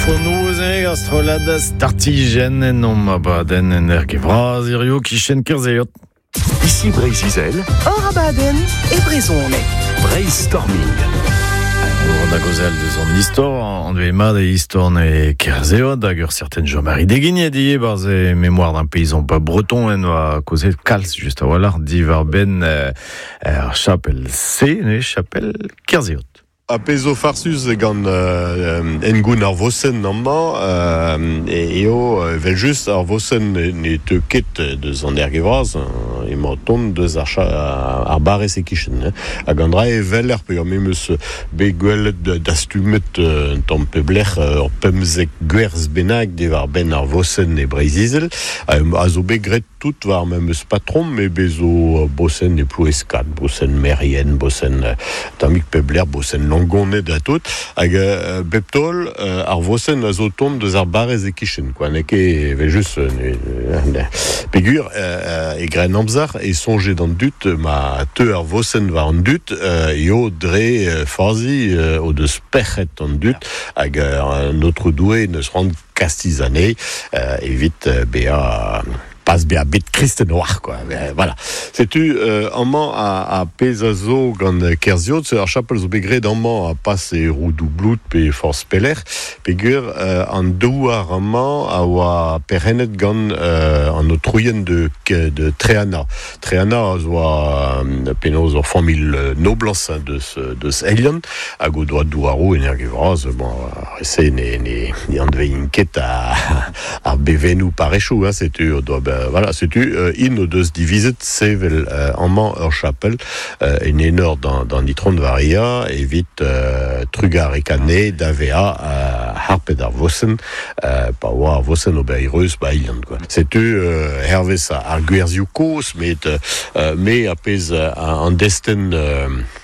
Fonoz ar strollad Startijenn en omp abadenn en Erge Vras hirio kichen Kerzeot. Ici Breizh-Izel. Hor abadenn e brezhoneg. Breizh Storming. Da gozel deus an istor, an dve mat e istor ne Kerzeot hag ur certain Jean-Marie Deguignet die barz e mémoire d'un paysan pas breton en oa kozet kalz just a-walc'h diwar ben er chapel C, ne chapel Kerzeot. A pezh zo farsus gant hengoun ar vosenn amañ eo evel-just ar vosenn ne teu ket deus an Erge-Vras, emañ o tont deus ar barrez e-kichen. Hag an dra evel er peogwir me 'm eus bet gwelet dastumet un tamm pep lec'h ur 15 gwerz bennak diwar-benn ar vosenn e Breizh-Izel a zo bet graet Tout war memes patrom, me bezo bosenn e Ploueskad, bosenn Merien, bosenn tammig pep lec'h, bosenn Langoned ha tout. Hag bep taol, ar vosenn a zo tont deus ar barrez e-kichen, quoi. N'eo ket evel-just, peogwir e Grennamzer e soñje d'an dud ma teu ar vosenn war an dud eo dre fazi o deus pec'het an dud hag an Aotrou Doue 'neus c'hoant kastiz anezhe evit bezañ pas bezañ bet kristen a-walc'h quoi. Voilà. Setu amañ ar pezh a zo gant Kerziot, ar chapel zo bet graet amañ ha pas e Roudoubloud pe forzh pelec'h, peogwir an douar amañ a oa perc'hennet gant an aotrouien de, de Treana. Treana a zo oa penaos ur familh noblañs deus, deus Elian hag o doa douaroù en Erge-Vras. Bon, ar re-se ne, ne, ne anveint ket ar bevennoù parrezioù, hein, setu o doa, ben, voilà, setu int o deus divizet sevel amañ ur chapel en enor d'an Itron Varia evit trugarekaat da vezañ harpet ar vosenn pa oa ar vosenn ober he reuz ba Elian, quoi. Setu hervez ar gwerzioù kozh, met me a pezh an destenn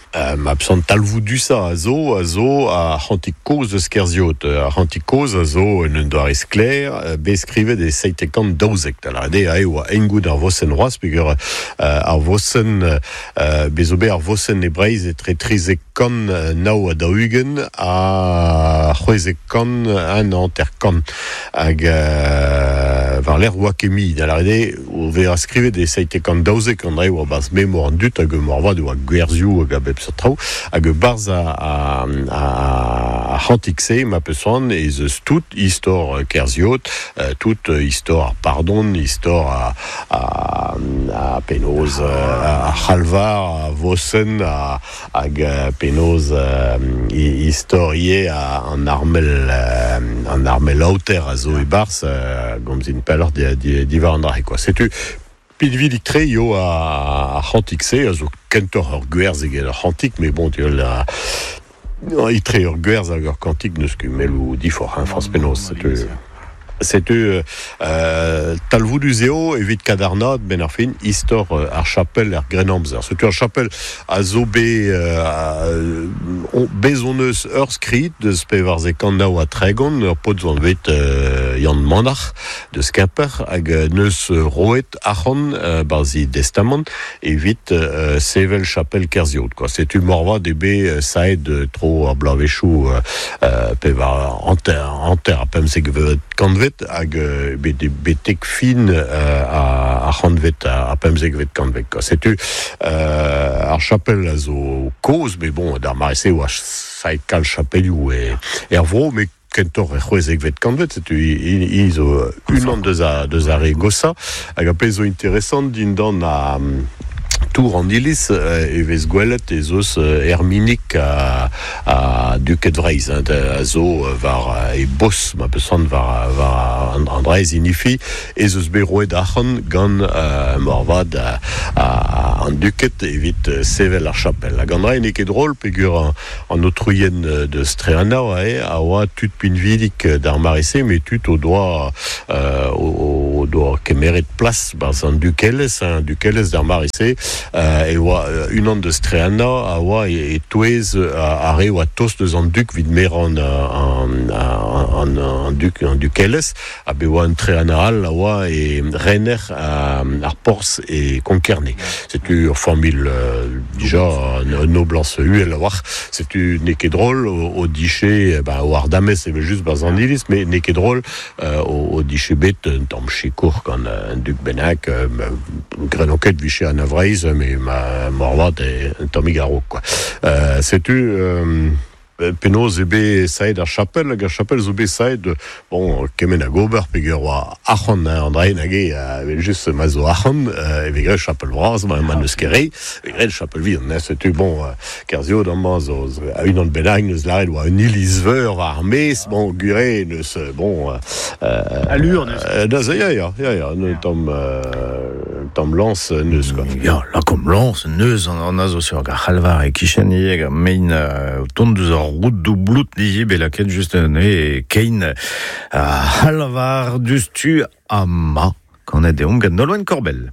Ma peseurt talvoudusañ a zo a zo ar c'hantik kozh eus Kerziot. Ar c'hantik kozh a zo en un doare sklaer bet skrivet e 712, da lâret eo aze e oa engoud ar vosenn c'hoazh peogwir ar vosenn bez zo bet ar vosenn e Breizh etre 139 ha 651. Hag war-lerc'h oa ket mui, da lâret eo O vezañ skrivet e 712 an dra e oa 'barzh memor an dud hag moarvat e oa gwerzioù hag a bep seurt traoù hag 'barzh ar c'hantik-se ma peus c'hoant ez eus tout istor Kerziot, tout istor ar pardon, istor ar penaos ar c'halvar, ar vosenn hag penaos istor ivez an armel an armel aoter a zo e-barzh a gomzin pelloc'h diwar an dra-se quoi. Setu pinvidik-tre eo ar c'hantik-se a zo kentoc'h ur gwerz eget ur c'hantik mais bon tu vois etre ur gwerz hag ur kantik n'eus ket melloù diforc'h hein, forzh penaos setu Setu talvoudus eo evit kadarnaat benn ar fin istor ar chapel er Grennamzer. Setu ar chapel a zo bet bez hon eus ur skrid deus 1439, ur paotr zo anvet Yann Manac'h deus Kemper hag neus roet arc'hant 'barzh e destamant evit sevel chapel Kerziot quoi. Setu moarvat eo bet saet tro ar bloavezhioù 54 kantved hag bet betek fin ar c'hantved ar pemzekvet kantved quoi. Setu ar chapel a zo kozh met bon d'ar mare-se e oa saet kalz chapelioù er vro met Kentoc'h er c'hwezekvet kantved, setu hi zo unan deus ar re goshañ. Hag ar pezh zo interesant dindan ar tour an iliz e vez gwelet ez eus erminig a Duked Vreizh a zo war e bos, ma peus c'hoant, war an draezh hinifi ez eus bet roet arc'hant gant moarvat an duked evit sevel ar chapel. Hag an dra n'eo ket drol peogwir An aotrouien deus Treanav aze a oa tud pinvidik d'ar mare-se, met tud o doa o o doa kemeret plas 'barzh an dukelezh, an dukelezh d'ar mare-se e oa unan deus Treanna a oa e-touez ar re a oa tost deus an duk evit merañ an duk an dukelezh ha bet oa un Treanna all a oa e rener ar porzh e Konkerne. Setu ur familh dija un noblañs uhel a-walc'h. Setu n'eo ket drol o dije ba o ardamez evel-just 'barzh an iliz met n'eo ket drol o dije bet un tamm sikour gant un dug bennak, grenan ket 'vije Anna Vreizh, met moarvat un tammig a-raok quoi. Setu penaos eo bet saet ar chapel, hag ar chapel zo bet saet, bon, kement hag ober peogwir oa arc'hant hein, an dra-se hag eo, evel-just ma zo arc'hant e vez graet chapel vras, ma n'eus ket re, e vez graet chapel vihan, hein, setu bon, Kerziod amañ zo unan bennak 'neus lâret 'oa un iliz-veur war ar maez, bon, gure 'neus, bon... Allure 'neus. Neuze, ya, ya, ya, ya, un tamm, un tamm lañs 'neus, quoi. Ya, lakaomp lañs 'neus an a zo sur hag ar c'halvar e-kichen ivez, hag mein o tont deus ar roudoù blout ivez, bet lakaet just neuze e kein ar c'halvar diouzhtu amañ. Kanet deomp gant Nolwenn Korbell.